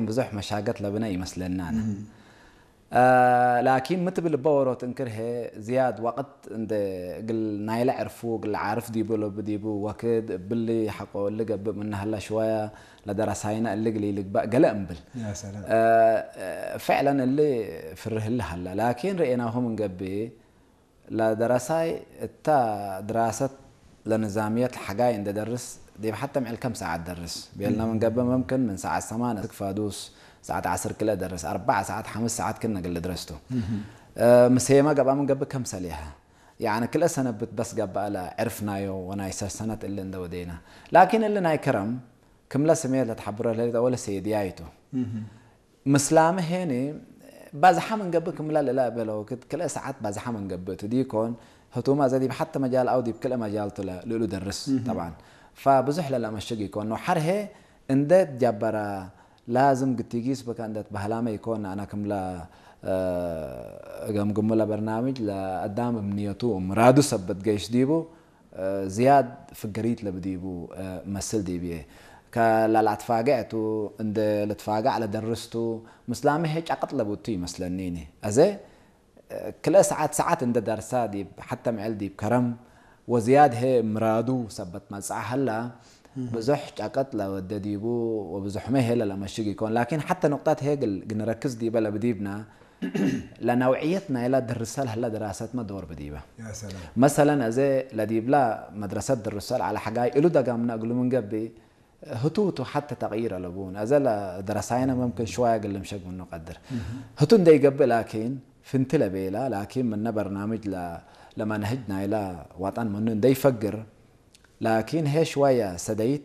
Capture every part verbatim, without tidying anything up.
ብዙሕ መሻገት ለብነ ኢመስለኒ አነ። እ፣ ላኪን ሚ ትብል እበ ዎሮት እንክር ህዬ ዝያድ ወቅት እንዴ እግል ናይለ ዕርፉ እግል ዓርፍ ዲቡ ለቡ ዲቡ ወክድ እብሊ ሐቆ እሊ ገብእ ምነ ሀላ ሽወያ ለደረሳይነ እሊ እግል ኢልግበእ ገሌ እምብል። ያ ሰላም። እ፣ ፍዕለን እሊ ፍርህ እሊ ሀላ። ላኪን ርኤናሁ ምን ገብእ ለደረሳይ እተ ድራሰት ለንዛምየት ለሐጋይ እንዴ ደርስ፣ ዲብ ሐተ ምዕል ከም ሰዓት ደርስ ቤልና ምን ገብእ፣ መምክን ምን ሰዓት ሰማን እስክ ፋዱስ፣ ሰዓት ዐስር ክልኤ ደርስ፣ አርበዕ ሰዓት፣ ሐምስ ሰዓት ክነ እግል ድረስ ቱ። እ፣ ምሴመ ገብአ ምን ገብእ ከም ሰሌሐ። ያዕኒ ክልኤ ሰነብት በስ ገብአ ለዕርፍናዮ ወናይ ሰሰነት እሊ እንዴ ወዴና። ላኪን እሊ ናይ ከረም ክምለ ስሜት ለትሐብሮ ለህሌት አወለ ሴድያይ ቱ። ምስላመ ሄኒ ባዝሐ ምን ገብእ ክምለ ለለአበለ ወክድ ክልኤ ሰዓት ባዝሐ ምን ገብእ ቱ ዲኮን፣ ህቱመ አዜ ዲብ ሐተ መጃል አው ዲብ ክልኤ መጃል ቱ ለ-፣ ልእሉ ደርስ ጠብዓን። ፈብዙሕ ለለአመሽግ ኢኮን ነው። ሐር ህዬ እንዴ ትጀበረ ላዝም ግቲጊስ ብከ እንዴ ትበህላመ ኢኮን። አነ ክምለ፣ እ፣ እገምግሙ ለበርናምጅ ለአዳም እምንየቱ ወምራዱ ሰበት ገይስ ዲቡ፣ እ፣ ዝያድ ፍገሪት ለብዲቡ፣ እ፣ መስል ዲብዬ። ከለለአትፋገዕ ቱ፣ እንዴ ልትፋገዕ ለደርስ ቱ፣ ምስላመ ህዬ ጨቅጥ ለቡ ቱ ይመስለኒኒ። አዜ፣ እ፣ ክልኤ ሰዓት፣ ሰዓት እንዴ ደርሳ ዲብ ሐተ ምዕል ዲብ ከረም ወዝያድ ህዬ ምራዱ ሰበት መጽአ ሀላ፣ ብዙሕ ጨቅጥ ለወዴ ዲቡ ወብዙሕመ ህዬ ለለአመሽግ ኢኮን። ላኪን ሐተ ኑቅጠት ህዬ እግል፣ እግል ንረክዝ ዲበ ለብዲብነ፣ ለነውዕየት ናይላ ድርሰ ለህለ ድራሰትመ ዶር ብዲበ። ያ ሰላም። መሰለን፣ አዜ ለዲብላ መድረሰት ድርሰ ለዐለ ሐጋይ እሉ ደጋምነ እግሉ ምን ገብእ፣ ህቱ ህቱ ሐተ ተቅይር አለቡን። አዜ ለደረሳይነ መምክን ሽዋየ እግል ልምሸግ ምኑ ቀድር። ህቱ እንዴ ኢገብእ ላኪን፣ ፍንቲ ለቤላ፣ ላኪን ምነ በርናምጅ ለ-፣ ለመንህጅ ናይላ ዋጣን ምኑ እንዴ ኢፈግር፣ ላኪን ህዬ ሽዋየ ሰደይት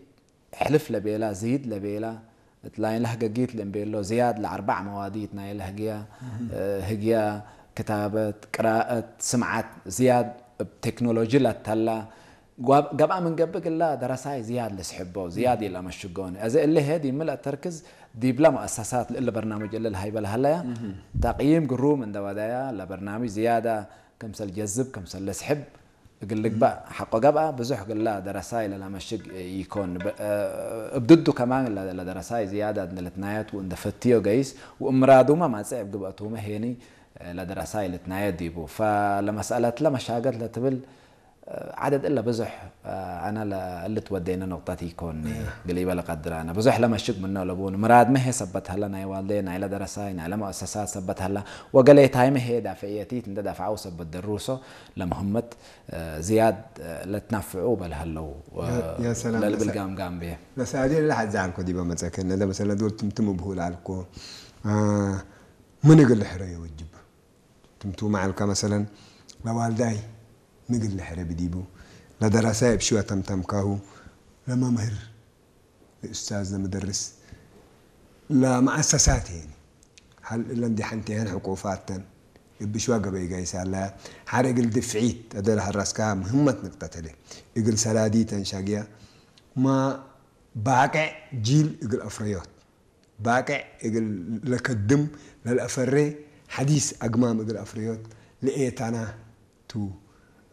ሕልፍ ለቤላ፣ ዝይድ ለቤላ፣ እት ላይን ለህገጊት ለእምቤሎ ዝያድ ለአርበዕ መዋዲት ናይለ ህግያ፣ እ፣ ህግያ፣ ክታበት፣ ቅራአት፣ ስምዓት፣ ዝያድ እብ ቴክኖሎጂ ለተላ፣ ጓብ-፣ ገብአ ምን ገብእ እግላ ደረሳይ ዝያድ ልስሕቦ፣ ዝያድ ኢለአመሽጎኒ። አዜ እሊ ህዬ ዲብ ምልእ ተርክዝ ዲብለ መአሰሳት ለእለ በርናምጅ እለ ለሀይበ ለሀለያ፣ ተቅይም ግሩም እንደ ወደያ፣ ለበርናምጅ ዝያዳ ክምሰል ጀዝብ፣ ክምሰል ለስሕብ፣ እግል ልግበእ ሐቆ ገብአ፣ ብዙሕ እግላ ደረሳይ ለለአመሽግ ኢኮን። በ-፣ እብ ድዱ ከማን ለ-፣ ለደረሳይ ዝያዳት እንዴ ልትናየት ወእንዴ ፈትዮ ገይስ ወእምራዱመ ማጽእ እብ ግብአቱመ ሄኒ ለደረሳይ ልትናየት ዲቡ። ፈለመስአለትለ መሻገት ለትብል ዐደድ እለ ብዙሕ አነ ለእሊ ትወዴነ ኑቅጠት ኢኮን እግል ኢበ ለቀድር አነ። ብዙሕ ለመሽግ ምኖ ለቡን ምራድመ ህዬ ሰበት ሀለ፣ ናይ ዋልዴ፣ ናይለ ደረሳይ፣ ናይለ መአሰሳት ሰበት ሀለ፣ ወገሌታይመ ህዬ ዳፍዕየቲት እንዴ ዳፍዐው ሰበት ደሩሶ ለምህመት ዝያድ ለትናፍዑ በል ሀለው ያ ሰላም። ለልብል ለሰ-፣ ጋምጋም ብየ። ለሰአሊ ለሐዜ ዐልኮ ዲበ መጸከነ ለመሰለ ዶል ትምትም እብሁ ለዐልኮ፣ አ፣ ምን እግል ልሕረዮ ወጅብ? ትምቱመ ዐልከ መሰለን ለዋልዳይ ምን እግል ልሕረ ብዲቡ? ለደረሳይ እብ ሽወ ተምተምካሁ ለመምህር ለኡስታዝ ለምደርስ ለመአሰሳት ሄኒ። ሀል እለ እንዴ ሐንቴሀን ሕቁፋተን እብ ሽዋ ገበይ ጋይስ ሀለያ። ሐር እግል ድፍዒት አደለ ሐራስካ ምህመት ንቅጠት ህለ። እግል ሰላዲተን ሻግያ ማ ባቅዕ ጂል እግል አፍረዮት፣ ባቅዕ እግል ለከድም ለልአፈሬ ሐዲስ አግማም እግል አፍረዮት ለኤታና ቱ።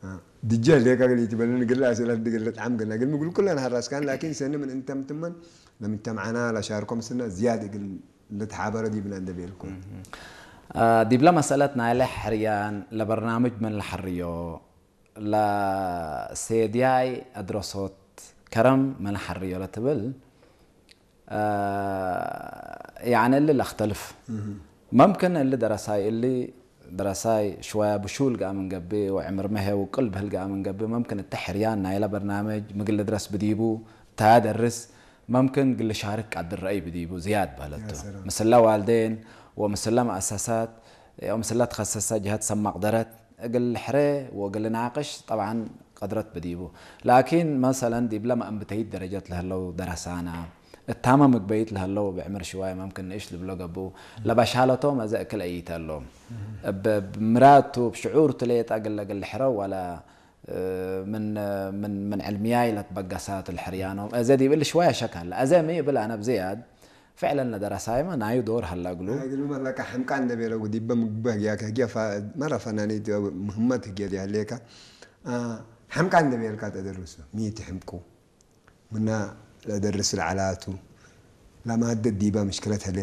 አ፣ ድጀ ህሌከ እግል ኢትበልን እግል አስእለት እግል ልጥዓም ገና እግል ምግል ኩለን ሐራስካን፣ ላኪን ሰኒ ምን እንተምትመን ለምጅተምዐና ለሻርኮ ምስልና ዝያድ እግል ልትሓበረ ዲብና እንደ ቤልኮ። አ፣ ዲብለ መሰለት ናይለ ሕርያን ለበርናምጅ ምን ለሐርዮ፣ ለሴድያይ አድረሶት ከረም ምን ለሐርዮ ለትብል፣ አ፣ ያዕኒ እሊ ለአክተልፍ። መምክን እሊ ደረሳይ እሊ ደረሳይ ሽወያ ብሹል ገአ ምን ገብእ ወዕምርመ ህዬ ውቅል ብህል ገአ ምን ገብእ፣ መምክን እተ ሕርያን ናይለ በርናምጅ ምግል ልድረስ ብዲቡ፣ ታ ደርስ መምክን እግል ልሻርክ ቀድር ረአይ ብዲቡ ዝያድ በህለት ቱ። ያ ሰላም። ምስለ ዋልዴን ወምስለ መአሰሳት ወምስለ ተኸሰሰ ጀሀት ሰብ መቅደረት እግል ልሕሬ ወእግል ልናቅሽ ጠብዓን ቀድረት ብዲቡ። ላኪን መሰለን ዲብለ መአንብተይት ደረጀት ለህለው ደረሳና፣ እታመ ምግበይት ለህለው እብ ዕምር ሽዋይ መምክን ንእሽ ልብሎ ገብኡ፣ ለበሻለቶም አዜ እክል አኢተሎም። እብ፣ እብ ምራድ ቱ፣ እብ ሽዑር ቱ ሌጠ እግል፣ እግል ልሕረው ወለ፣ እ፣ ምን፣ ምን፣ ምን ዕልምያይ ለትበገሳት ለሕርያኖም። አዜ ዲብ እሊ ሽዋይ ሸክ ሀለ። አዜ ሚ እብል አነ ብዝያድ ፍዕለን ለደረሳይመ ናዩ ዶር ሀለ እግሉ። እግልመ ለከ ሕምቃን እንዴ ቤለው ዲበ ምግበ ህግያከ ህግየ ፈ-፣ መረ ፈናኒት ምህመት ህግየ ዲሀሌከ፣ አ፣ ሕምቃን እንዴ ቤልካ ተደርሱ። ሚ ትሕምቁ? ምና ለደርስ ለዐላቱ ለማደት ዲበ ምሽክለት ህሌ።